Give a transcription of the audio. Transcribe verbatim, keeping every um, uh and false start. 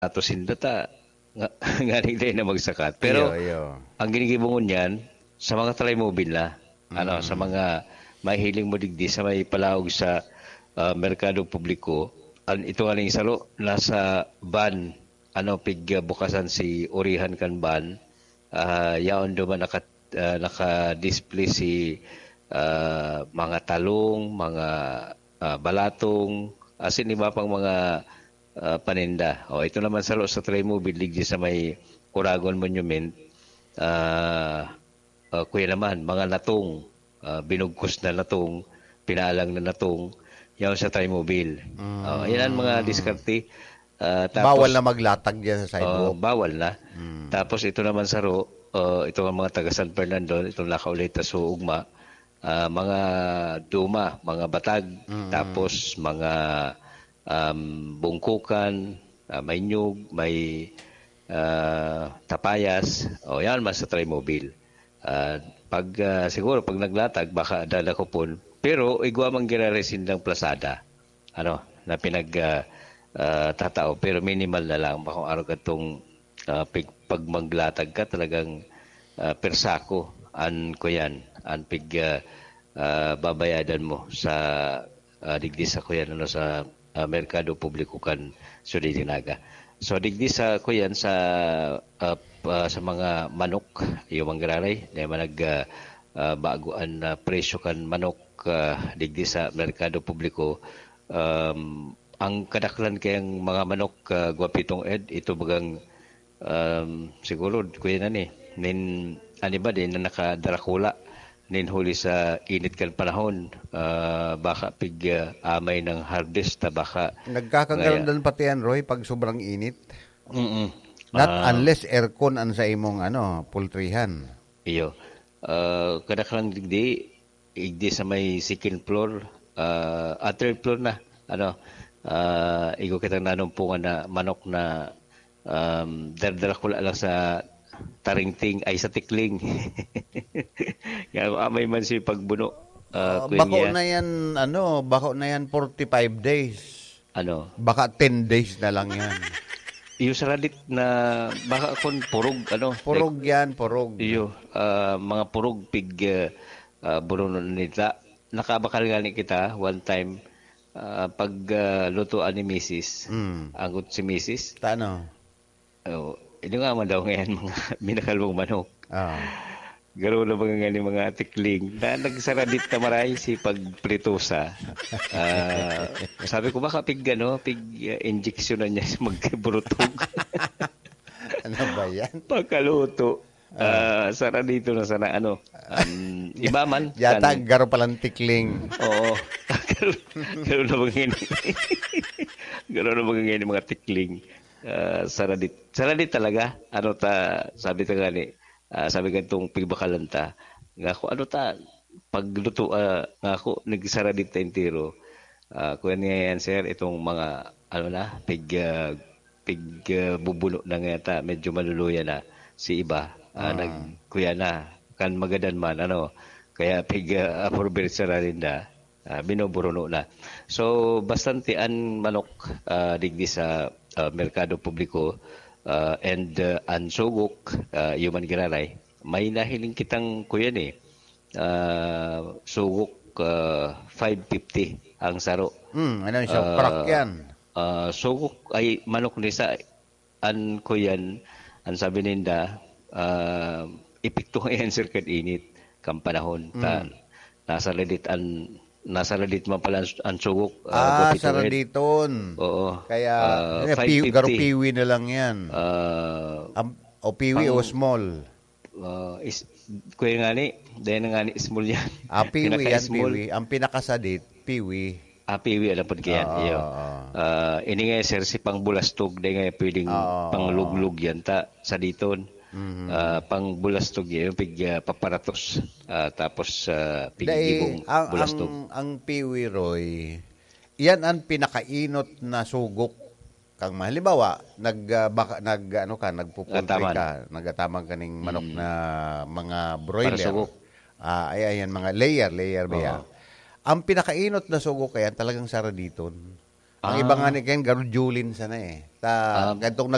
ato sinda ta nga nganing dai na magsakat. Pero Iyo, iyo. ang ginigibo ngunyan, sa mga try mobile na, ano, sa Mm. mga mahihiling mo digdi sa may palaog sa, ah, merkado publiko, an-, ito nga ning saro, nasa van, ano, pig, ah, bukasan si orihan kan van, ah, yaon duman naka-, ah, naka-display si, ah, mga talong, mga, ah, balatong, asin iba pang mga, ah, paninda. O, ito naman saro sa Trimobile, digdi sa may Oragon Monument, ah, ah, kuya naman, mga natong, ah, binugkos na natong, pinaalang na natong, yaon sa Trimobile. Mm. Ah, yan ang mga diskarte. Ah, Bawal tapos, na maglatag diyan sa ah, sidewalk. bawal na. Mm. Tapos ito naman saro, ah, ito ang mga taga San Fernando, itong nakaulay ta sa ugma, ah, mga duma, mga batag, Mm. tapos mga, um, bungkukan, ah, may nyug, may, ah, tapayas. O, yan, mas sa Trimobile. Ah, pag, ah, siguro, pag naglatag, baka dadakopon. Pero igwa man giraray sindang plasada, ano, na pinag, ah, ah, tatao, pero minimal na lang. Bakong araw katong, ah, pig-, pag maglatag ka, talagang, ah, per sako an kuyan, an pig, ah, ah, babayadan mo sa, ah, digdi sa kuyan, ano, sa, ah, merkado publiko kan Ciudad de Naga. So, digdi sa kuyan, sa, ah, p-, ah, sa mga manok, iyo man giraray, na man nag, ah, ah, bago an, ah, presyo kan manok, ah, digdi sa merkado publiko. Um, ang kadaklan kayang mga manok, ah, Guapitong Ed, ito bagang, um, siguro, kuya na ni, nin, ano ba, din na nakadarakula, nin huli sa init kan panahon, ah, baka pig, ah, amay ng harvest na baka Nagkakagalandan ngaya. pati yan, Roy, pag sobrang init. Mm-mm. Not Ah. unless aircon ang sa imong, ano, pultrihan. Iyo. Ah, kadaklan digdi, igdi sa may second floor, ah, ah, third floor na, ano, ah, igo kitang nanumpungan na manok na, um, dardara ko lang sa taringting, ay, sa tikling. Nga, amay man siya pagbuno, ah, Ah, Kuya bako Nia. na yan, ano, bako na yan forty-five days. Ano? Baka ten days na lang yan. Iyo sa radit na baka kun purog, ano, Purog like, yan, purog. iyo, ah, mga purog pig, ah, ah, burunon nita. Nakabakal nga ni kita one time, ah, pag, ah, lutoan ni misis. Mm. Anggot si misis. Ta ano? Oh, ini nga man daw ngayon mga binakalbong manok. Ah. Garo na ba nga ni mga tikling na nagsaradit na maray si pagpritusa? Ah, sabi ko, "Baka pig, ano, pig, ah, injection na niya sa magburutog." Ano ba yan? Pagkaluto, Ah. ah, saradito na sana, ano, um, iba man, Yata, kan- garo palang tikling. Oo. Garo, garo na ba ngayon? Garo na ba ngayon yung mga tikling? Ah, saradit. Saradit talaga. Ano ta, sabi ta nga ni, ah, sabi ka itong pigbakalan ta, nga ako, ano ta, pagluto, ah, nga ako, nagsaradit ta entero. Ah, kuya niya yan, sir, itong mga, ano na, pig, ah, pig, ah, bubuno na nga ta, medyo maluluya na si iba, ah, Ah. nag-, kuya na, kan magadan man, ano, kaya pig, ah, apurbersa na rin na, ah, binuburuno na. So, bastante an manok, ah, digdi sa, ah, merkado publiko, ah, and, ah, an sugok, ah, iyo man giraray. May nahiling kitang kuyan eh. Ah, sugok, ah, five fifty ang saro. Hmm, ano siya? Ah, Parak yan. ah, sugok ay manok ni sa an kuyan, ang sabi ninda, ah, epekto nga yan, sir, kan init, kan panahon. Ta-, Hmm. nasa ladit an, nasa ladit man pala ang, ang sugok, ah, Ah, Guapitong Ed. Saraditon. Oo. Kaya, Ah, eh, pi-, garo five fifty. Piwi na lang yan. Ah, Am-, o piwi o pang small. Ah, is, kuya nga ni, dahil na nga ni small yan. Ah, piwi yan, Pinaka-small. Piwi. Ang pinakasadit, piwi. Ah, piwi, alam po kaya. Oo, Iyo. oo. Ah, ini nga, sir, si pangbulastog, dahil nga pwedeng Oo. pangluglog yan, ta, sa diton. Mhm. Ah, pangbulastog yan, yung pig, ah, paparatos. Ah, tapos, ah, Dahil pigigibong ang, bulastog. ang, ang piwi, Roy, yan ang pinakainot na sugok. Kang ma-, halimbawa, nag, ah, baka, nag, ano ka, nagpupultri Ataman. ka, nagataman ka ning manok Mm. na mga broiler. Para sugok. Ah, ay, ayan, mga layer, layer ba yan? Oo. Ang pinakainot na sugok, ayan, talagang saraditon. Ang Ah. iba nga ni Ken, garudulin sana eh. Ta-, Ah. gantong